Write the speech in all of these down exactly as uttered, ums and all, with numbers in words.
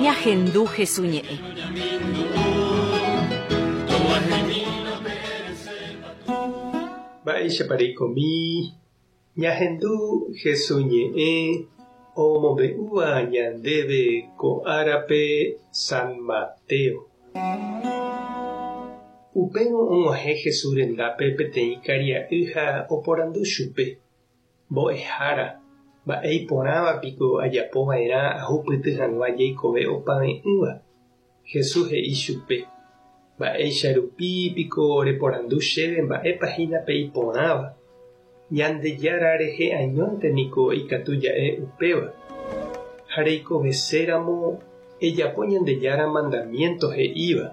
Ñahendu Hesu ñe'ẽ. Mba'éichapa reikomi ñahendu Hesu ñe'ẽ omombe'úva ñandéve ko árape San Mateo. Upérõ og̃uahẽ Jesús rendápe peteĩ karia'y ha oporandu chupe. Mbo'ehára, mba'e iporãvapiko ajapova'erã ahupyty hag̃ua jeikove opave'ỹva. Jesús he'i chupe. Mba'éicha rupi piko reporandu chéve mba'épa hína pe iporãva. Ñandejára rehe añónte niko ikatu ja'e upéva. Ha reikoveséramo ejapo Ñandejára mandamiento he'íva.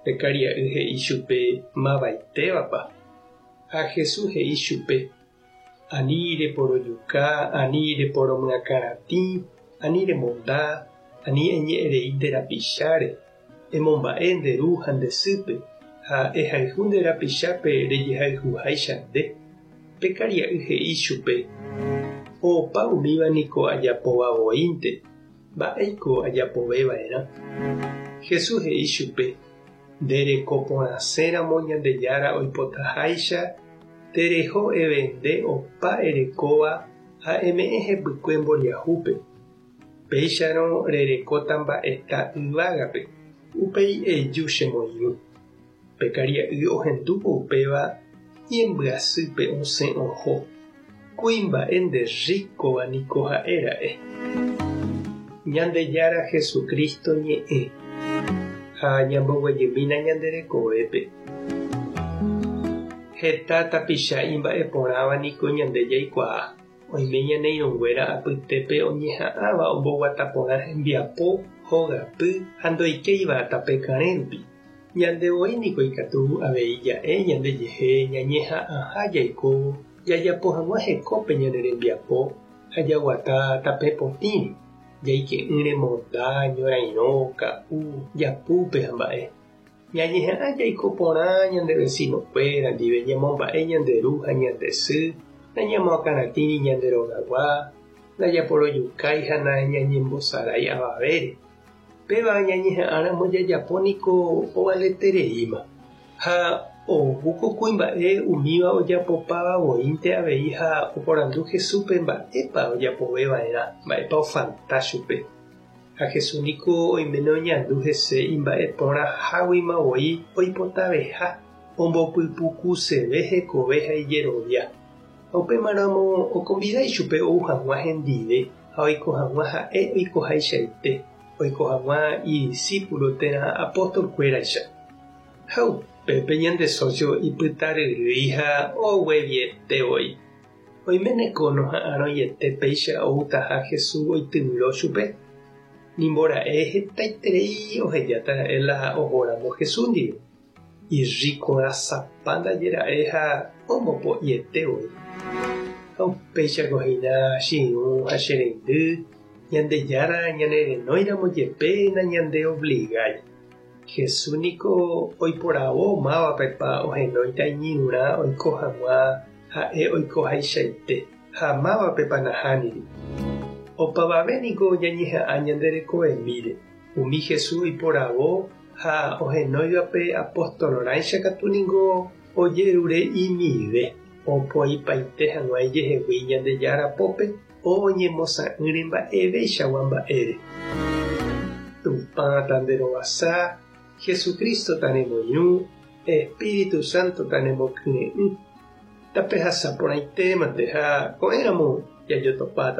Pe karia'y he'i chupe mavaitévapa. Ha Jesús he'i chupe. Ani reporojuka, ani reporomyakãratĩ, ani remonda, ani eñe'ẽrei nde rapicháre, emomba'e nde ru ha nde sýpe, ha ehayhu nde rapichápe rejehayhuháicha nde. Pe karia'y he'i chupe. Opa umíva niko ajapóvavoínte, mba'éiko ajapoveva'erã. Jesús he'i chupe. Nderekoporãséramo Ñandejára oipotaháicha, tereho evende opa erekóva ha eme'ẽ hepykue mboriahúpe. Péicharõ rerekóta mba'eta yvágape, upéi eju chemoirũ. Pe karia'y ohendúvo upéva ñembyasýpe osẽ oho. Kuimba'e nderríkova niko ha'éra'e. Ñandejára Jesucristo ñe'ẽ ha ñamboguejymína ñande rekovépe. Heta tapicha imba'eporãva niko ñande jaikuaa. Oime ñane irũnguéra apytépe oñeha'ãva omboguataporã hembiapo, hogapy ha ndoikéiva tape karẽ rupi. Ñandevoi niko ikatu avei ja'e ñandejehe ñañeha'ãha jaiko jajapo hag̃ua hekópe ñane rembiapo ha jaguata tape potĩre, jaike'ỹre monda, ñorairõ, ka'u, japúpe ha mba'e. Ñañeha'ã jaiko porã ñande vecinokuéra ndive ñamomba'e ñande ru ha ñande sy, nañamoakãratĩri ñande rogagua, ndajaporojukái ha nañañembosarái avavére. Péva ñañeha'ãramo jajapo niko ovaletereíma. Ha oúko kuimba'e umíva ojapopavavoínte avei ha oporandu Jesúspe mba'épa ojapoveva'erã, mba'épa ofalta chupe. Ha Jesús niko oiméne oñandu hese imba'eporãháguima voi oipotaveha, ombopypukuseve hekove ha ijerovia. Ha upémaramo okombidái chupe ou hag̃ua hendive ha oiko hag̃ua ha'e oikohaichaite, oiko hag̃ua idiscípulo térã apóstolkuéraicha. Ha upépe ñande socio ipytaryrýi ha oguevietevoi. Oiméneko noha'ãrõiete péicha outaha Jesús oityvyro chupe. Nimbora'e hetaiterei ohejátara'e la ohóramo Jesús ndive. Irrikorasapa ndajera'e ha ombopo'ietevoi. Ha upéichako hína che irũ ha che reindy, Ñandejára ñanerenóiramo jepe nañandeobligái. Jesús niko oiporavo mávapepa ohenóita iñirũrã oiko hag̃ua ha'e oikohaichaite ha mávapepa nahániri. Opavave niko ñañeha'ã ñande rekovemíre. Umi Jesús oiporavo ha ohenóivape apostolorãicha katu niko ojerure imive opoipaite hag̃ua ijehegui Ñandejára pópe oñemosã'ỹre mba'eveichagua mba'ére. Tupã tanderovasa, Jesucristo tanemoirũ, Espíritu Santo tanemokyre'ỹ. Tapehasa porãitémante ha ko'ẽramo jajotopáta.